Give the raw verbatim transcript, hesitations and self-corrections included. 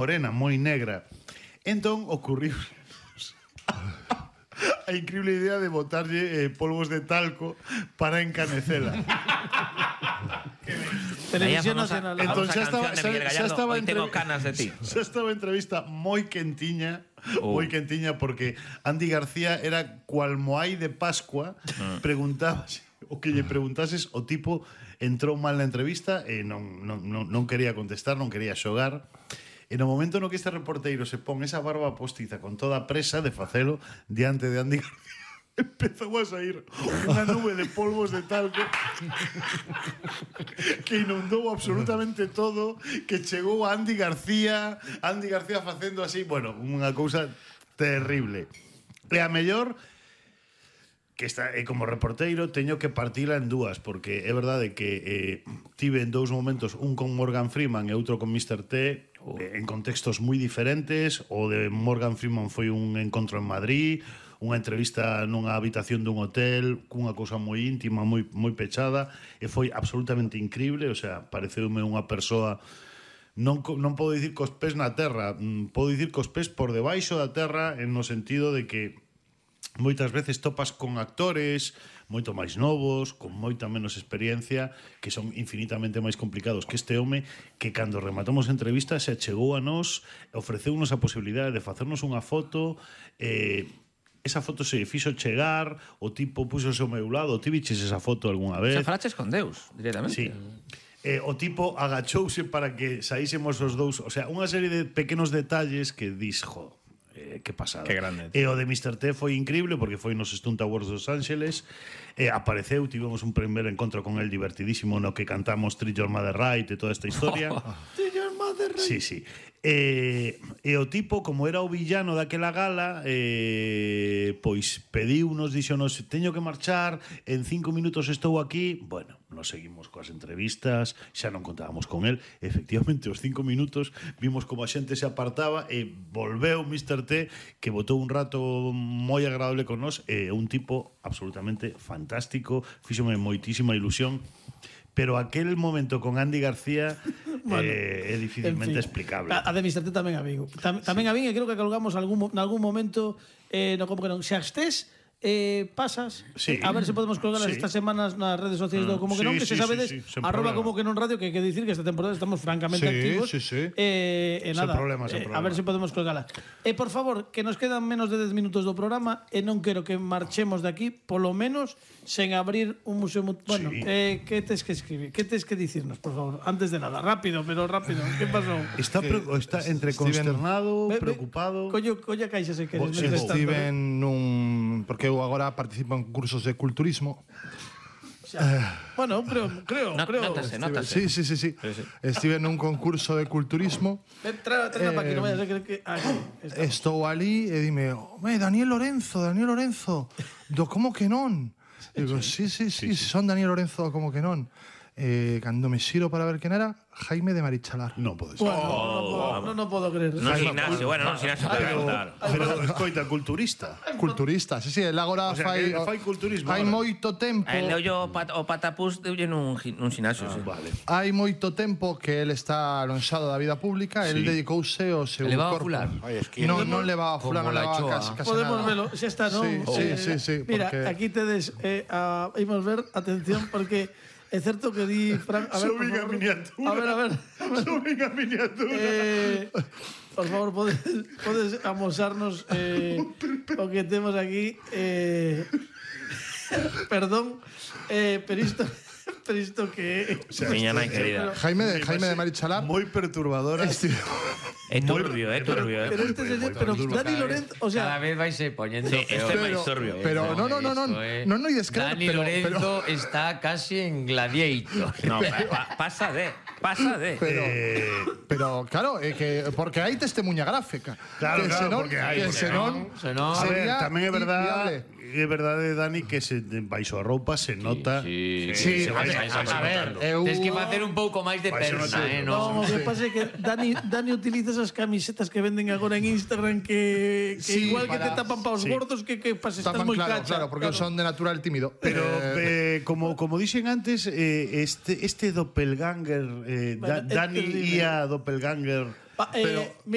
morena, moi negra. Entón, ocurriu a increíble idea de botarlle eh, polvos de talco para encanecela. Televisión Nacional. Entón, xa estaba, xa, xa estaba Hoy tengo canas de ti. Xa estaba a entrevista moi quentiña, Oh. moi quentiña, porque Andy García era cual moai de Pascua. Mm. Preguntabas, o que lle preguntases, o tipo entrou mal na entrevista e non, non, non, non quería contestar, non quería xogar. E no momento no que este reporteiro se pon esa barba postiza con toda a presa de facelo diante de Andy García, empezou a sair unha nube de polvos de talco que inundou absolutamente todo, que chegou a Andy García, Andy García facendo así, bueno, unha cousa terrible. E a mellor que está, e como reporteiro teño que partila en dúas, porque é verdade que eh, tive en dous momentos, un con Morgan Freeman e outro con mister T, oh. eh, en contextos moi diferentes. O de Morgan Freeman foi un encontro en Madrid, unha entrevista nunha habitación dun hotel, cunha cousa moi íntima, moi, moi pechada, e foi absolutamente increíble. O sea, pareceume unha persoa, non, non podo dicir cos pés na terra, podo dicir cos pés por debaixo da terra, en no sentido de que moitas veces topas con actores moito máis novos, con moita menos experiencia, que son infinitamente máis complicados que este home, que cando rematamos a entrevista se chegou a nós, ofreceunos a posibilidade de facernos unha foto. eh, esa foto se fixo chegar, o tipo puxose ao meu lado. Ti viches esa foto algunha vez? Se falaches con Deus, directamente. Sí. Eh, o tipo agachouse para que saísemos os dous. O sea, unha serie de pequenos detalles que dis, jo, eh, que pasada. Que grande. E o de mister T foi increíble porque foi nos Stunt Awards dos Ángeles, eh, apareceu, tivemos un primer encontro con el divertidísimo no que cantamos Treat Your Mother Right e toda esta historia. Treat Your Mother Right. Sí, sí. E, e o tipo, como era o villano daquela gala, eh, pois pediunos, dixonos, teño que marchar, en cinco minutos estou aquí. Bueno, nos seguimos coas entrevistas, xa non contábamos con el. Efectivamente, os cinco minutos vimos como a xente se apartaba e volveu mister T, que botou un rato moi agradable con nós, e un tipo absolutamente fantástico, fíxome moitísima ilusión. Pero aquel momento con Andy García bueno, eh, é difícilmente en fin, explicable. A, a de mister T tamén a Vigo. Tam, tamén sí. a Vigo, e creo que colgamos algún, nalgún momento, eh, no como que non, xa estés, eh, pasas, sí. a ver se podemos colgar sí. estas semanas nas redes sociais do Como que sí, non, que sí, se sabedes, sí, sí, arroba problema. Como que non radio, que hai que dicir que esta temporada estamos francamente sí, activos. Sí, sí. Eh, e nada, problema, eh, problema. a ver se podemos colgala. E por favor, que nos quedan menos de dez minutos do programa e non quero que marchemos de aquí, polo menos sen abrir un museo. Bueno, sí. eh, que tes que escribir? Que tes que dicirnos, por favor? Antes de nada, rápido, pero rápido. Que pasou? Está, pre está entre consternado, Steven, preocupado. Collo, colla caixa se queres. Sí, Steven nun, porque eu agora participo en cursos de culturismo. Xa. Bueno, creo, creo, no, creo. Nótase, nótase. Sí, sí, sí, sí. sí, sí. Estive nun concurso de culturismo. Trae eh, para aquí, non vayas a creer que aquí estou ali e dime, "Home, Daniel Lorenzo, Daniel Lorenzo, do como que non?" Digo, sí, sí, sí, sí, sí, son Daniel Lorenzo, como que non. Eh, cando me xiro para ver quen era, Jaime de Marichalar. Non pode ser. Bueno, oh, no, no, no puedo creer. No gimnasio, bueno, no gimnasio. Pero, claro. pero escoita, culturista. Culturista, sí, sí, el agora O sea, fai, que fai culturismo hai ahora. moito tempo. El leo yo pat, o patapús deulle nun, nun gimnasio, Ah, sí. vale. Hai moito tempo que el está alonxado da vida pública, Sí. el dedicouse ao seu Levaba corpo. fular. Ay, es que Non, non levaba fular, Como non la levaba choa. casi, casi Podemos nada. verlo, xa está, non? Sí, sí, Eh, sí, sí, Mira, porque- aquí tedes eh, a imos ver, atención, porque é certo que di Fran, a ver, por Suben a favor. miniatura. A ver, a ver. Suben a miniatura. Eh, por favor, podes, podes amosarnos eh, o que temos aquí. Eh, perdón, eh, pero isto, pero isto que... O sea, Miña esto- nai querida. Jaime de, Jaime de Marichalar. Moi perturbadora. Esti- É turbio, é turbio, Pero eh. este señor, pero Dani Lorenzo, o Cada sea, vez vais se poniendo Sí, peor. este é máis turbio. pero no, no, no, no, Esto, eh. no, no, y descreo, Dani pero- Lorenzo pero- está casi en Gladiator. No, pa, pasa de, pasa de. Pero, Eh, pero claro, é que porque hai testemuña gráfica. Claro, que claro, senón, porque hai, que porque senón, senón- A ver, sería tamén é verdade, inviable. é verdade, Dani, que se baixo a roupa se nota. sí, Sí, se a vai- ver, vai- vai a ver, notando. eu Tienes que facer un pouco máis de Vai ser persa, notable. eh, no, no. o que pasa é que Dani, Dani utiliza esas camisetas que venden agora en Instagram que, que Sí, igual que para- te tapan para os sí. gordos que, que pas estás tapan, moi claro, cacha. claro, porque son de natural tímido. Pero Eh, eh, como como dixen antes, eh, este este doppelganger, eh, Da- Bueno, Dani este- Ia doppelganger. Pa, eh, Pero-